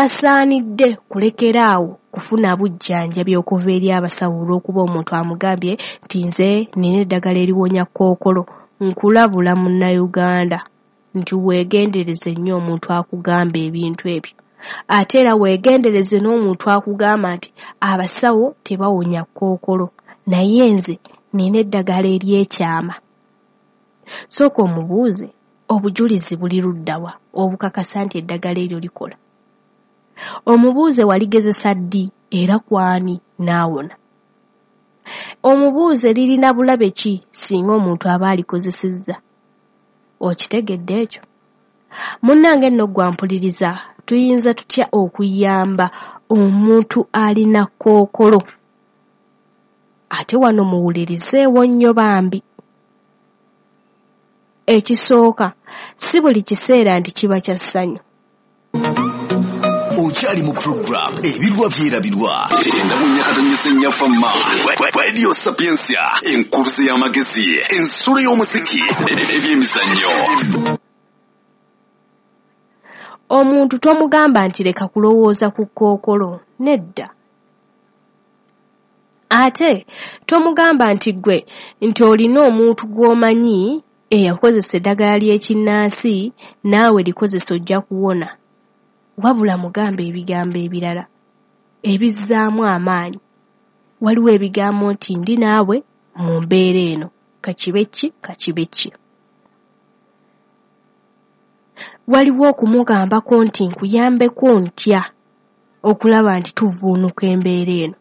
Tasaanidde kulekera awo kufuna bujjanjabi okuva eri abasawo olw'okuba omuntu amugambye nti nze nnina eddagala eriwonya kkookolo. Nkulabula Munnayuganda nti weegendereze nnyo omuntu akugamba ebintu ebyo. Ate era weegendereze n'omuntu akugamba nti abasawo tebawonya kkookolo naye nze nnina eddagala ery'ekyama. Sooka omubuuze obujulizi buli ludda wa obukakasa nti eddagala eryo likola. Omubuuze waligezesa ddi era ku ani n'awona. Omubuuze lirina bulabe ki singa omuntu aba alikozesezza. Okitegedde ekyo? Munnange nno ggwe ampuliriza, tuyinza tutya okuyamba omuntu alina kkookolo? Ate wano muwulirizeewo nnyo bambi. Ekisooka, si buli kiseera nti kiba kya ssanyu. Okyali mu program Ebirwa Byerabirwa enda mu nyakatonyesa ennyafamma Radio Sapiensia, enkuluze y'amagezi, ensulo y'omuziki n'ebyemizannyo. Omuntu tomugamba nti leka kulowooza ku kkookolo, nedda. Ate tomugamba nti ggwe nti olina omuntu gw'omanyi eyakozesa eddagala ly'ekinnansi naawe likozese ojja kuwona. Wabula mugambe ebigambo ebirala ebizzaamu amaanyi. Waliwo ebigambo nti ndi naawe mu mbeera eno, kakibe ki kakibe ki. Waliwo okumugambako nti nkuyambeko ntya okulaba nti tuvvuunuka embeera eno.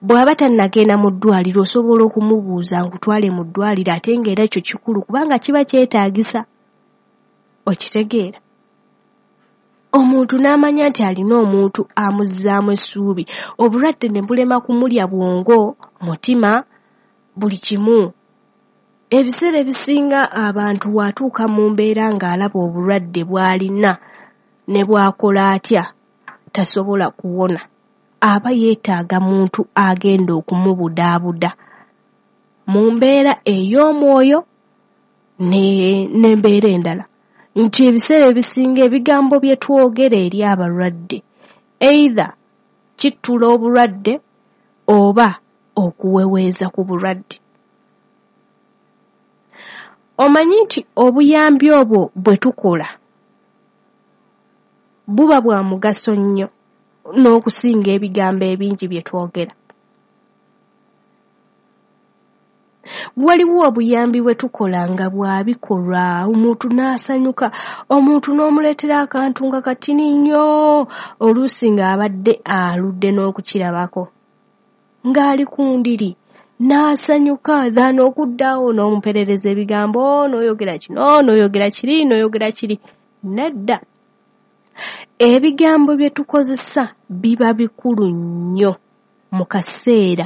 Bw'aba tannagenda mu ddwaliro osobola okumubuuza nkutwale mu ddwaliro ate ng'era ekyo kikulu kubanga kiba kyetaagisa. Okitegeera? Omuntu n'amanya nti alina omuntu amuzzaamu essuubi, obulwadde ne bulema kumulya bwongo, mutima, buli kimu. Ebiseera ebisinga abantu bw'atuuka mu mbeera ng'alaba obulwadde bw'alina ne bw'akola atya tasobola kuwona, aba yeetaaga muntu agenda okumubudaabuda mu mbeera ey'omwoyo n'embeera endala. Nti ebiseera ebisinga ebigambo bye twogera eri abalwadde either kittula obulwadde oba okuweweeza ku bulwadde. Omanyi nti obuyambi obwo bwe tukola buba bwa mugaso nnyo n'okusinga ebigambo ebingi bye twogera. Waliwo obuyambi bwe tukola nga bwa bikolwa, omuntu n'asanyuka, omuntu n'omuleetera akantu nga katini nnyo, oluusi ng'abadde aludde n'okukirabako, ng'ali ku ndiri n'asanyuka than okudda awo n'omuperereza ebigambo, n'oyogera kino, n'oyogera kiri, n'oyogera kiri. Nedda. Ebigambo bye tukozesa biba bikulu nnyo mu kaseera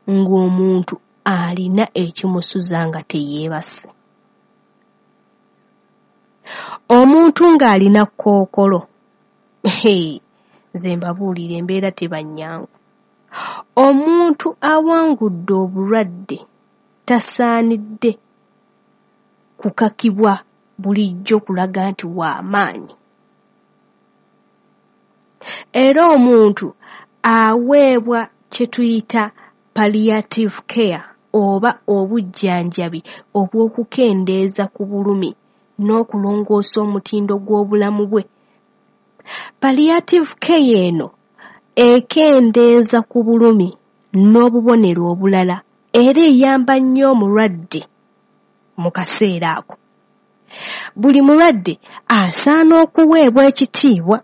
ng'omuntu alina ekimusuza nga teyeebase. Omuntu ng'alina kkookolo, nze mbabuulira embeera teba nnyangu. Omuntu awangudde obulwadde tasaanidde kukakibwa bulijjo kulaga nti wa maanyi. Era omuntu aweebwa kye tuyita palliative care oba obujjanjabi obw'okukendeeza ku bulumi n'okulongoosa omutindo gw'obulamu bwe. Palliative care eno ekendeeza ku bulumi n'obubonero obulala era eyamba nnyo omulwadde mu kaseera ako. Buli mulwadde asaana okuweebwa ekitiibwa.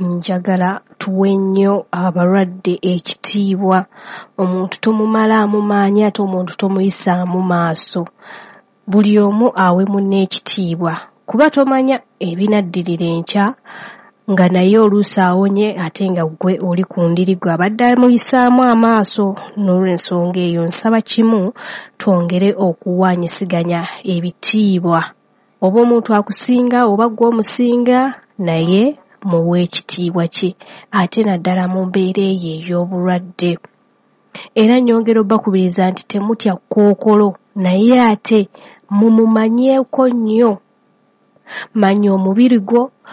Njagala tuwe nnyo abalwadde ekitiibwa. Omuntu tomumalaamu maanyi ate omuntu tomuyisaamu maaso. Buli omu awe munne ekitiibwa kuba tomanya ebinaddirira enkya nga naye oluusi awonye ate nga ggwe oli ku ndiri gwe abadde amuyisaamu amaaso. N'olw'ensonga eyo nsaba kimu twongere okuwaanyisiganya ebitiibwa. Oba omuntu akusinga oba ggwe omusinga naye muwe ekitiibwa kye ate naddala mu mbeera eyo ey'obulwadde. Era nnyongera obbakubiriza nti temutya kkookolo naye ate mumumanyeeko nnyo. Manya omubiri gwo,